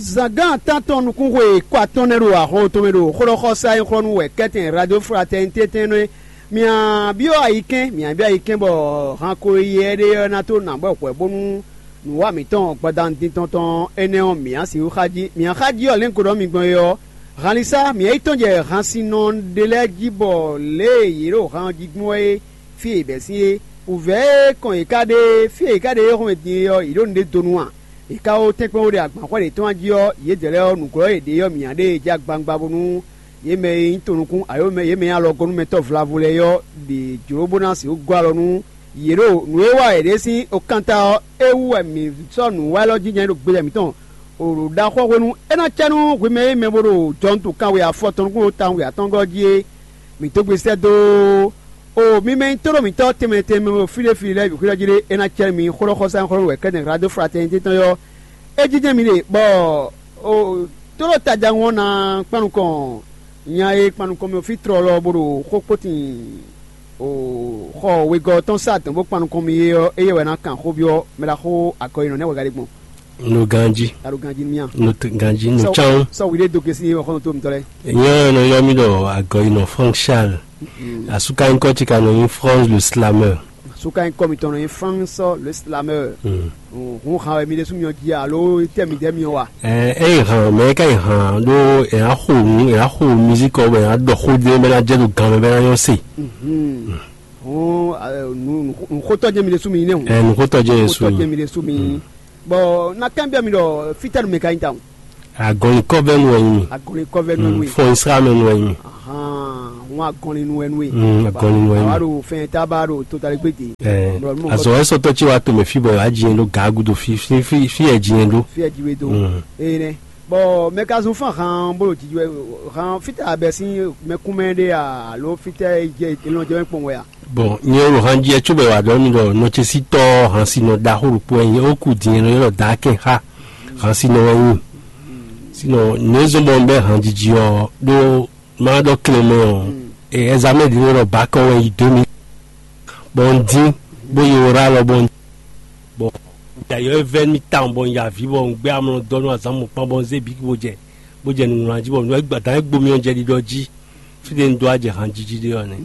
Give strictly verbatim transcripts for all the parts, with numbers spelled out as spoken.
Zǎngán tántɔn nukúnxwe kɔ atɔ́ɔ́n nɛ́ ɖo axɔ́ tɔn mɛ ɖo xó ɖɔ xɔ sá nyí xlɔ́ nú wɛ kɛ́tɛn Radio Fraternité tɛn nɛ́. Mǐ byɔ́ ayikɛ́n, mǐ byɔ́ ayikɛ́n bɔ han ko yi ɛɖé ɔ́ ná tó nǎ bɔ hwɛ bónú nǔwa mǐtɔn gbadanu din tɔn tɔn énɛ́ ɔ́, mǐ á sixú xá jí. Mǐ á xá jí ɔ́, lěngo ɖɔ mi gbɔn é ɔ́, hanlísá mǐ yi tɔn jɛ hansinnɔ ɖé lɛ́ɛ jí bɔ lě e yě ɖo han ɔ́ jí gbɔn é fí e yě bɛ́ sín é. Wǔvɛ́ e kɔn yě ká ɖe fí e yě ká ɖe é hɔn din é ɔ́, yě ɖo nǔɖé donu a? Yě ká wó tɛ́nkpɛ́n wó ɖe agbanxwɛ́ ɖě tɔn jí ɔ́, yědɛɛ lɛ́ɛ ɔ́, nǔglɔ́ e yě ɖe ɔ́, mǐ ná ɖe e jí agbangbá bónú yě mɛ e nyí tonnukún, ayǒ mɛ yě mɛ e nyí alɔgɔ́númɛtɔ́ vlavú lɛ́ɛ ɔ́ ɖe jlǒ bó ná sixú gɔ́ alɔ nú yě ɖo nǔ e wa yě ɖe sín okántá ɔ́, é wú wɛ mǐ sɔ́ nǔ wa élɔ́ jínjɔ́n ɖo gbeyɛ mǐtɔn ɖo ɖaxó hwenu é ná cɛ nú hwi mɛ e mɛ bo ɖo jɔntu kanwe afɔ tɔn nukún tawun atɔngɔ́ jí é. Mǐ dó gbe sɛ́ dó. O mi mɛ nyí tóɖó mǐtɔn tɛnmɛ tɛnmɛ e fí ɖé fí lɛ́ɛ bǐ xwíɖɔ jí ɖé, é ná cɛ mi xó ɖɔ xɔsá xó ɖɔ wɛ kɛ́nɛ Radio Fraternité tɔn ɔ́, é jínjɛ́n mi ɖe bɔ o tóɖó tajan ɔ́ ná kpan nukɔn nya e kpan nukɔn mì fí tlɔlɔ bó ɖo xó kpótin o xɔ wegɔ́ tɔn sá dɔn bó kpan nukɔn mi é ɔ́, éyɛ́ wɛ ná kan xó byɔ́ mɛ ɖaxó akɔyinɔ nɛ́ wɛ ka ɖe gbɔn. No ganjí. Alo ganjí ní mía. No t- ganjí no Sɔ- chan. Sɔ wíɖé dó gesi wɔ xɔnɔ tó mítɔ lɛ. Nyɛ nɔ yɔ mi ɖɔ agɔyinɔ Frank Charles. Asuka ŋkɔ ti ka nɔ nyi France le slameur. Suka ŋkɔ mitɔn nɔ nyi France le slameur. Hun han wɛ mi ɖe sún mi ɔn jí alo tɛ mi dɛ mi ɔn wa. Ɛ ɛ yi han mɛ ka yi han ɖo ɛ ya xo nu ɛ ya xo musique ɔ bɛ ya ɖɔ xo de bɛ na jɛ ɖo gan mɛ bɛ na yɔ se. Hun nu xotɔ jɛ mi ɖe sún mi yi ne o. Ɛ nu xotɔ jɛ yɛ Xotɔ jɛ sún. Mi ɖe sún mi. Bɔn na kán bia mi ɖɔ fitɛnu mɛ ka nyi ta o. Agɔnlikɔvɛnu wɛ nyi mi. Agɔnlikɔvɛnu wɛ nyi. Fɔn Israɛl mɛ wɛ nyi mi. Ahan, wọn agɔnlinu wɛ nu ye. Mm, agɔnlinu wɛ nu. Awa ɖo fɛn ta ba ɖo totali gbe de. Ɛ azɔ wɛ sɔtɔ tsi wa to mɛ fi bɔ wa dzi yɛn ɖo gaagu do fi fi fi fi yɛ dzi yɛn ɖo. Fi yɛ dzi we do. Mm. Eye nɛ. Bɔn mɛ ka zun fán han bolo jiji wɛ han fitɛ abɛ sin mɛkúnmɛ ɖe a alo fitɛ jɛ elɔn jɛ mɛ kpɔn wɛ a. Bɔn nyɛ ɖo han jɛ tso bɛ wa ɖɔ mi ɖɔ nɔtsɛsitɔ hansinɔ ɖaxó ɖokpó wɛ nyɛ woku din yɛn nɔ ylɔ da kɛn xa hansinɔ wɛ nyi. Sinɔ nɛzɔn bɔ bɛ han jiji ɔ ɖo ma ɖɔ klɛn mɛ ɔ ɛzamɛ ɖi nɔ ɖɔ bakɔ wɛ yi deux mille. Bɔn n dín bó yi wora lɔ bɔn bɔn yayɔ e vɛ mi tawun bɔn yavi bɔn gbé amlɔ dɔ nú azan mɔkpán bɔn zé bi bó jɛ bó jɛ nǔwlán jí bɔ nǔ e gbadán e gbomi ɔ́ jɛ ɖiɖɔ jí. Fí ɖé un dó wá jɛ hanjiji ɖé ɔ́ nɛ́.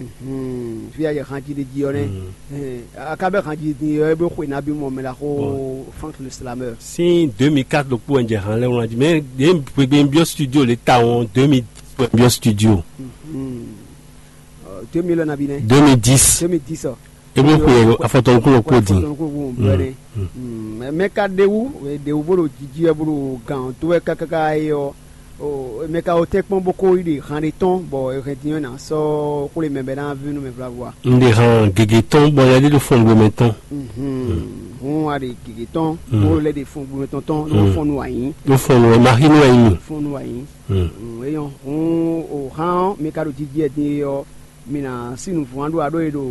Fí a jɛ hanji ɖé jí ɔ́ nɛ́. Aká bɛ hanji din ɔ́ é bó xwe ná bí mɔ mɛ ɖaxó Frank le Slameur. Sín deux mille quatre ɖokpó wɛ un jɛ han lɛ́ɛ wlán jí mɛ ɖě un gbe un byɔ́ studio lě tawun ɔ́, deux mille dix wɛ un byɔ́ studio. Deux mille ɔ́ nabí nɛ́. Deux mille dix. Deux mille dix ɔ. É bó xwe afɔtɔnukúnɔ kpó din. Mɛ ka ɖe wú ɖe wú bó ɖo jiji wɛ bó ɖo gǎn tó wɛ kákáká é ɔ́. Mɛ ka wo tɛ́nkpɔ́n bó kó yi ɖe han ɖé tɔn bɔ è hɛn din ɔ́ ná sɔ́ xwlé mɛ bɛ ná ví nú mɛ vlavo a? Un ɖe han gěgé tɔn bɔ lɛ́ ɖé ɖo fɔngbó mɛ tɔn. Hun a ɖe gěgé tɔn bó lɛ́ ɖe fɔngbó mɛ tɔn tɔn ɖó fɔn nu wǎ nyí. Ɖó fɔn nu wɛ ma xí nu wɛ nyí. Fɔn nu wǎ nyí. Eyɔn hun o han ɔ́ mi ka ɖo jiji wɛ din é ɔ́, mi ná sí nǔvɔ́n ɖó aɖó e ɖo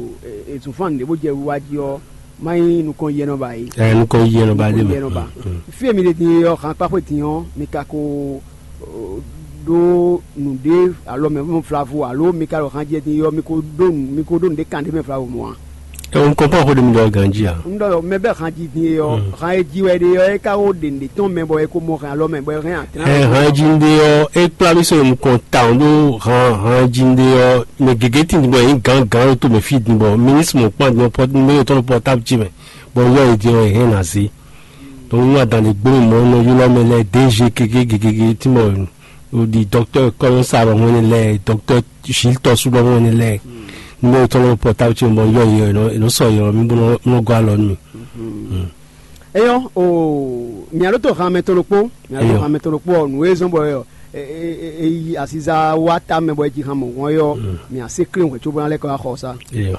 ezunfán ɖě bó jɛ wiwa jí ɔ́, má nyí nukɔn yɛnɔ ba é. Ɛ nukɔn yɛnɔ ba ɖé mɛ. Yɛnɔ ba. Fí e mi ɖe din é ɔ́, han kpáxwé din ɔ́, mi ka ko ɖó nǔɖé alɔ mɛ mɔ vlavo alo mi ka ɖo han jɛ din é ɔ́, mi ko ɖó nǔ mi ko ɖó nǔɖé kan ɖé mɛ vlavo mɔ a? Ɛ un kɔnpɔn xó ɖé mi ɖɔ ganjí a? Un ɖɔ mɛ bɛ han ji din é ɔ́, han e ji wɛ ɖe ɔ́, é ka wo ɖe nǔɖé tɔn mɛ bɔ é ko mɔ hɛn alɔ mɛ bɔ é hɛn atra. Ɛ han e ji un ɖe ɔ́, é kplá mì sɔ́ nukɔn tawun ɖó han han e ji un ɖe ɔ́, mɛ gěgé tin bɔ é nyí gǎngǎn ɖo to mɛ fí din bɔ minisitiri mɔ̌kpán din ɔ́, numéro tɔn ɖo pɔtáblu ce mɛ, bɔ un yɔ yě din ɔ́, è hɛn ná zé. Donc nú adǎn ɖé gbóni mɔ̌ nɔ ylɔ́ mɛ lɛ́ɛ D G gěgé gěgé gěgé tí mɔ ɖi dɔktɔ́ kɔ́yɔ́sa lɔ hɔn énɛ́ lɛ́ɛ, dɔktɔ́ Gilles tɔ́sú lɔ hɔn énɛ́ lɛ́ɛ. Numéro tɔn lɔ pɔtáblu ce mɛ bɔ un yɔ yě ɔ́, è nɔ sɔ yě ɔ́, mí bó nɔ gɔ́ alɔ nú mì. Eyɔn o mia ɖo to han mɛ tɔn ɖokpó mia ɖo han mɛ tɔn ɖokpó ɔ nǔ e zɔn bɔ ɛ e yi asiza wa ta mɛ bɔ e ji han mɔ wɔn yɔ mia se kle wɛ tso bɔ na lɛ kɔ axɔ sa. Eyɔn.